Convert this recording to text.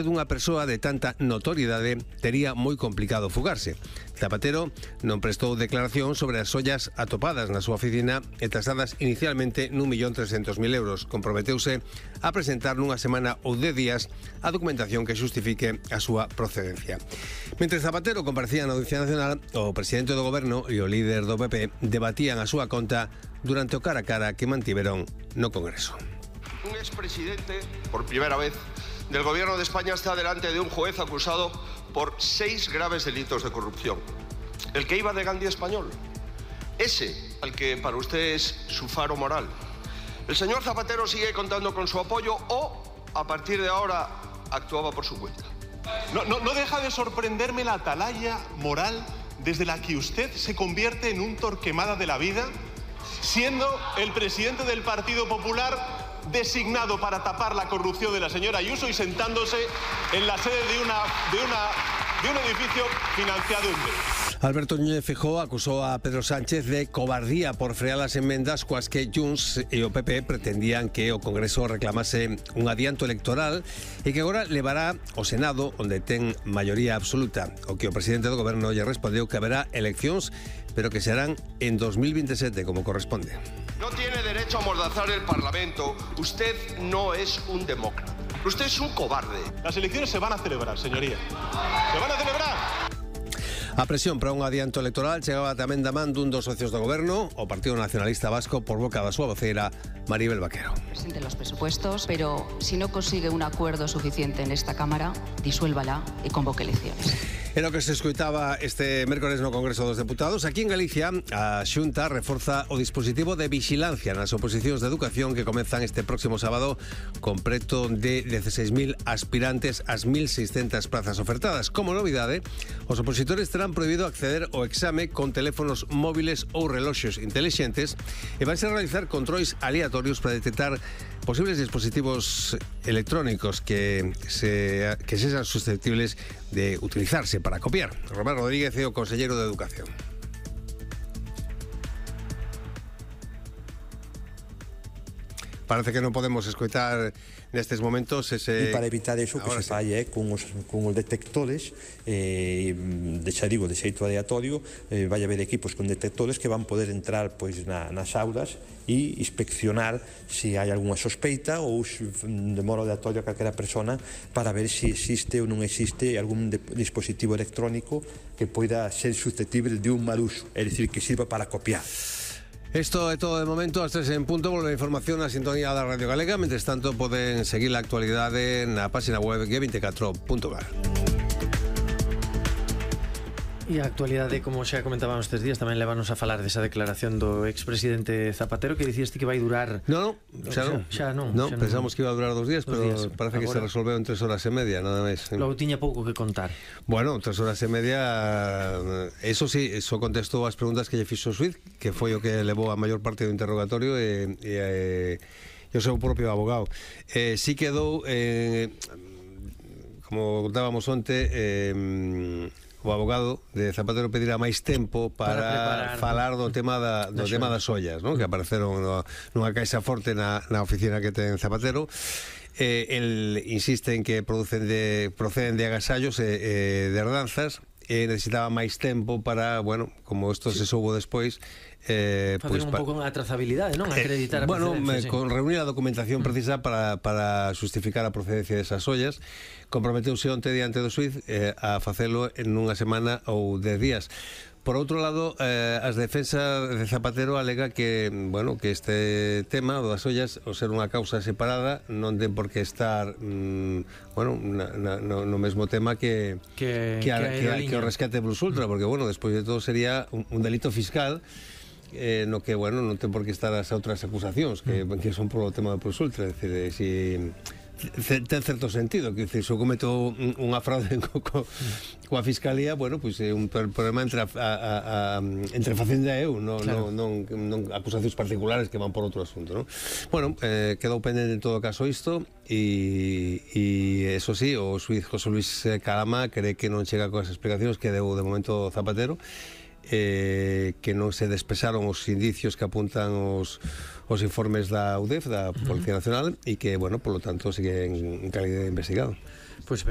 Dunha persoa de tanta notoriedade tería moi complicado fugarse. Zapatero non prestou declaración sobre as ollas atopadas na súa oficina e tasadas inicialmente n1.300.000 euros. Comprometeuse a presentar nunha semana ou 10 días a documentación que xustifique a súa procedencia. Mentre Zapatero comparecía na Audiencia Nacional, o presidente do Goberno e o líder do PP debatían a súa conta durante o cara a cara que mantiveron no Congreso. Un expresidente, por primera vez, del Gobierno de España está delante de un juez acusado por 6 graves delitos de corrupción. El que iba de Gandhi español. Ese, al que para usted es su faro moral. El señor Zapatero sigue contando con su apoyo o, a partir de ahora, actuaba por su cuenta. No deja de sorprenderme la atalaya moral desde la que usted se convierte en un Torquemada de la vida, siendo el presidente del Partido Popular designado para tapar la corrupción de la señora Ayuso y sentándose en la sede de un edificio financiado en B. Alberto Núñez Feijóo acusou a Pedro Sánchez de cobardía por frear as emendas coas que Junts e o PP pretendían que o Congreso reclamase un adianto electoral e que agora levará ao Senado, onde ten maioría absoluta. O que o presidente do Goberno lle respondeu que haberá eleccións, pero que serán en 2027, como corresponde. No tiene derecho a amordazar el Parlamento. Usted no es un demócrata. Usted es un cobarde. Las elecciones se van a celebrar, señoría. ¡Se van a celebrar! A presión para un adianto electoral chegaba tamén da man dun dos socios do Goberno, o Partido Nacionalista Vasco, por boca da súa voceira, Maribel Vaquero. Presente los presupuestos, pero si no consigue un acuerdo suficiente en esta Cámara, disuélvala e convoque elecciones. Era o que se escoitaba este mércores no Congreso dos Deputados. Aquí en Galicia, a Xunta reforza o dispositivo de vixilancia nas oposicións de educación que comezan este próximo sábado con preto de 16.000 aspirantes ás 1.600 plazas ofertadas. Como novidade, os opositores terán prohibido acceder ao exame con teléfonos móviles ou reloxos intelixentes e vanse a realizar controis aleatorios para detectar posibles dispositivos electrónicos que sean susceptibles de utilizarse para copiar. Román Rodríguez é o conselleiro de Educación. Parece que non podemos escoitar nestes momentos ese... E para evitar eso que se fai con os detectores, xa digo, de xeito aleatorio, vai haber equipos con detectores que van poder entrar pois nas aulas e inspeccionar se hai algunha sospeita ou de modo aleatorio a calquera persona para ver se existe ou non existe algún dispositivo electrónico que poida ser susceptible de un mal uso, é dicir, que sirva para copiar. Esto é todo de momento, as 3 en punto. Volve a información na sintonía da Radio Galega. Mentres tanto, poden seguir a actualidade na página web g24.gal. E a actualidade, como xa comentábamos estes días, tamén levanos a falar desa declaración do expresidente Zapatero que dicías ti que vai durar... Non, xa non. Pensamos que iba a durar 2 días, pero parece que se resolveu en 3 horas e media, nada máis. Logo tiña pouco que contar. Bueno, 3 horas e media, eso sí, eso contestou as preguntas que lle fixo o xuíz, que foi o que levou a maior parte do interrogatorio e o seu propio abogado. Sí quedou, como contábamos onte, o abogado de Zapatero pedirá máis tempo para falar do tema das ollas, non? Que apareceron nunha caixa forte na oficina que ten Zapatero. El insiste en que proceden de agasallos e de herdanzas e necesitaba máis tempo para, bueno, como isto se soubo despois, facer un pouco a trazabilidade, non? Acreditar a procedencia. Con reunir a documentación precisa para justificar a procedencia desas ollas. Comprometeuse onte diante do xuíz a facelo en unha semana ou 10 días. Por outro lado, as defensas de Zapatero alega que, bueno, que este tema das ollas, ao ser unha causa separada, non ten por que estar bueno, no mesmo tema que o rescate Plus Ultra, porque, bueno, despois de todo sería un delito fiscal no que, bueno, non ten por que estar as outras acusacións que son por o tema do Plus Ultra. É dicir, si ten certo sentido, que se cometo unha fraude coa Fiscalía, bueno, pois é un problema entre Facenda e eu, non acusacións particulares que van por outro asunto, non? Bueno, quedou pendente en todo caso isto e eso sí, o xuíz José Luis Calama cree que non chega coas explicacións que deu de momento Zapatero, que non se despesaron os indicios que apuntan os informes da UDEF, da Policía Nacional, e que, bueno, por lo tanto, sigue en calidad de investigado. Pues